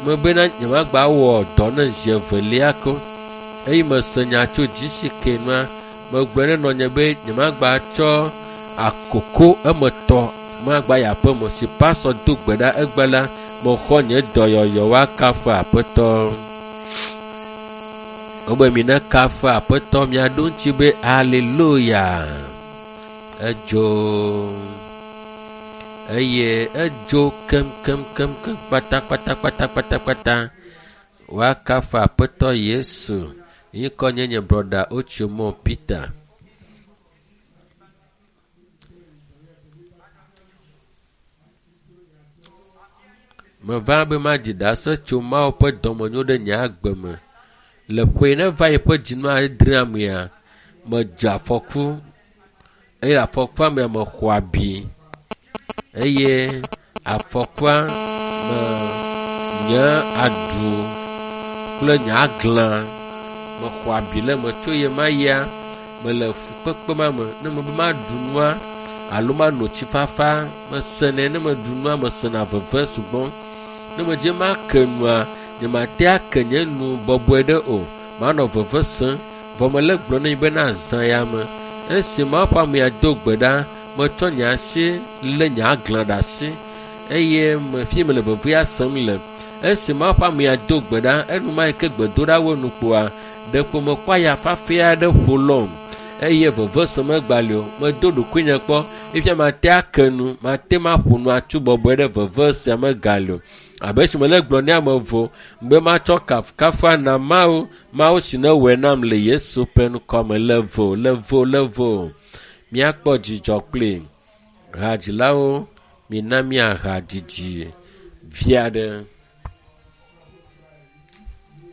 Mebena nyemagba wɔ dɔ ne zi evelia ko. Eye mese nya tso GCK nua, megblɔ ne nɔnye be nyemagba tsɔ akoko emetɔ magba yi aƒeme si pastor do gbe ɖa egbe la, mexɔ nye dɔyɔyɔ woakafu aƒetɔ. Wobe mi ne kafu aƒetɔ miaɖo ŋuti be aleluya. Edzo eye edzo keŋkeŋkeŋkeŋ kpatakpatakpatakpatakpata. Woakafu aƒetɔ Yesu. Ŋkɔ nye nye brɔda Otsomo Peter. Meva be maɖi ɖase tso Mawu ƒe dɔmenyo ɖe nye agbe me. Le ƒe yi ne va yi ƒe dzinu adrea mea, medze afɔku eye afɔkua mea mexɔ abi eye afɔkua me nye aɖu kple nye aglã mexɔ abi le eme tso ɣe ma ɣia mele fukpekpe ma me. Ne mebe maɖu nua alo mano tsi fafa mesenɛ ne meɖu nua mesena veve sugbɔ. Ne medze make nua nyemate ake nye nu bɔbɔe ɖe o. Manɔ veve sem. Vɔ mele gblɔ ne mi bena zã ya me esi Mawu ƒe amea do gbe ɖa metsɔ nye asi lé nye aglã ɖe asi eye me fi mele vevea sem le. Esi Mawu ƒe amea do gbe ɖa enumake gbedoɖa wo nu kpoa ɖeko mekpɔ aya fafɛ aɖe ƒo lɔm eye veve sem megbali o. Medo ɖokuinye kpɔ fifia mate ake nu, mate maƒo nu atsu bɔbɔe ɖe veve sia megali o. Abe esi mele gblɔ ne ame vo be matsɔ kafukafu na Mawu, Mawu si ne wɔe nam le Yesu ƒe ŋkɔ me le vo, le vo, le vo. Míakpɔ dzidzɔ kpli. Hadzilawo, mina míaha dzidzi vi aɖe.